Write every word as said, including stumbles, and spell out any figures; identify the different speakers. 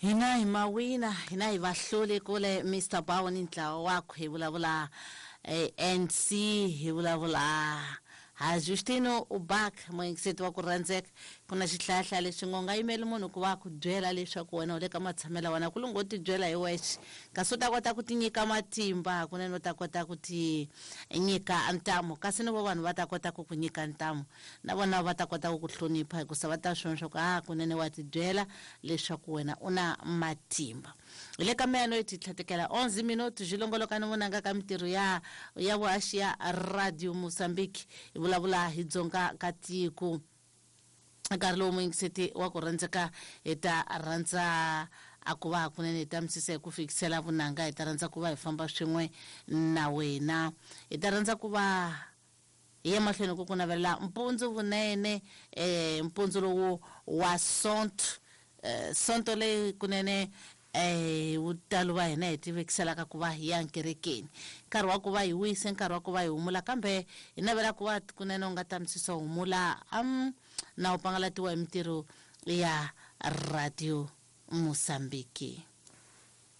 Speaker 1: Hina hi mawina, hina hi vahluli kule Mister Bawo ni ntlawa wakwe hi vulavula eh, N C hi vulavula ha Justino Ubak muyingiseti wa ku rhandzeka. Ku na xihlahla lexi ngo nga yimeli munhu ku va ku byela leswaku wena u le ka matshamelo wena ku lungo ti byela hi wexe, kasi u ta kota ku ti nyika matimba hakunene, u ta kota ku ti nyika ntamu, kasi ni vo vanhu va ta kota ku ku nyika ntamu na vona va ta kota ku ku hlonipha hikusa va ta swi vona leswaku a kunene wa ti byela leswaku wena u na matimba. Hi le ka meyano yi ti tlhatekela onze minuti xi longoloka ni vunanga ka mintirho ya ya vuhaxi ya Radio Mozambique. Hi vulavula hi dzonga ka tiko. Nkarhi lowu muyingiseti wa ku rhandzeka hi ta rhandza a ku va hakunene hi ta misisa hi ku fikisela vunanga, hi ta rhandza ku va hi famba swin'we na wena, hi ta rhandza ku va hi ya mahlweni ku ku navelela mpundzu vunene, eh, mpundzu lowu wa Sonto, eh, Sonto leyi kunene eh vutalo va hina hi tivekiselaka ku va hi ya nkerekeni, nkarhi wa ku va hi wise, nkarhi wa ku va hi humula, kambe hi navela ku va kunene u nga ta misisa humula am na u pangalatiwa hi mintirho ya Radio Mozambique.